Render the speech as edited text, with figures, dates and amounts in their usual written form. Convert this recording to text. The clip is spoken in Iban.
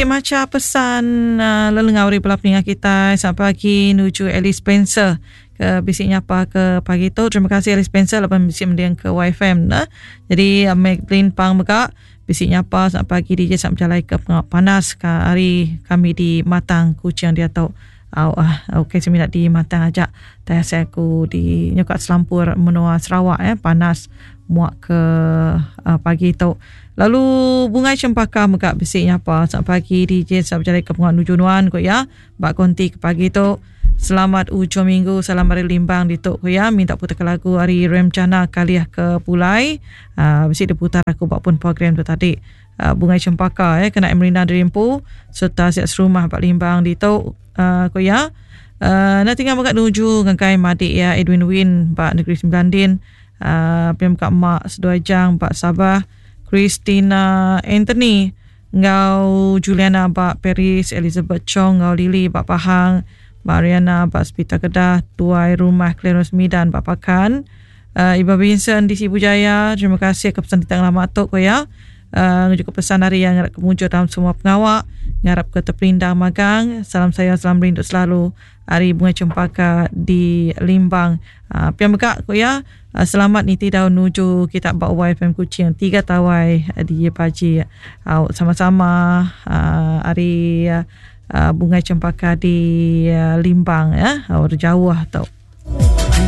Agi macha pesan uh, lelengau ari bala peninga kitai selamat pagi nuju Alice Spencer ke bisi nyapa ke pagi tu. Terima kasih Alice Spencer laban bisi mending ke YFM nah. Jadi uh, Madeline Pang mega bisi nyapa selamat pagi DJ selamat bejalai ke pengawa panas ke hari kami di Matang Kuching diatu. Au ah okey semina di Matang aja. Tai asai aku di nyuka selampur menua Sarawak eh panas muak ke uh, pagi tu. Lalu Bungai Cempaka mega bisi nyapa selamat pagi DJ selamat bejalai ke pengawa nuju nuan ku iya ba konti ke pagi tu. Selamat ujung minggu salam ari Limbang ditu ku iya minta putar ke lagu ari Rem Jana kalih ke pulai uh, bisi diputar aku ba pun program tu tadi. Uh, Bungai Cempaka eh kena merindang diri empu serta siap serumah ba Limbang ditu uh, ku iya. Uh, nak tinggal mega nuju ngagai madik iya Edwin Win ba Negeri Sembilan din. Uh, pia mega mak seduai Jang ba Sabah, Christina Anthony enggau Juliana ba Paris, Elizabeth Chong enggau Lily ba Pahang, Mariana ba Sepital Kedah, Tuai Rumah Clarence Midan ba Pakan, uh, Iba Vincent di Sibu Jaya, terima kasih ke pesan kita ngelama tu ko ya. Uh, ngejuka pesan hari yang ngarap ke mujur dalam semua pengawa, ngarap ke terperindang magang. Salam sayang, salam rindu selalu. Ari Bungai Cempaka di Limbang. Uh, pia mega ku iya, uh, selamat niti daun nuju kita ba YFM Kuching tiga tawai di Paji. Uh, sama-sama uh, ari uh, Bungai Cempaka di uh, Limbang ya, uh, jauh tu.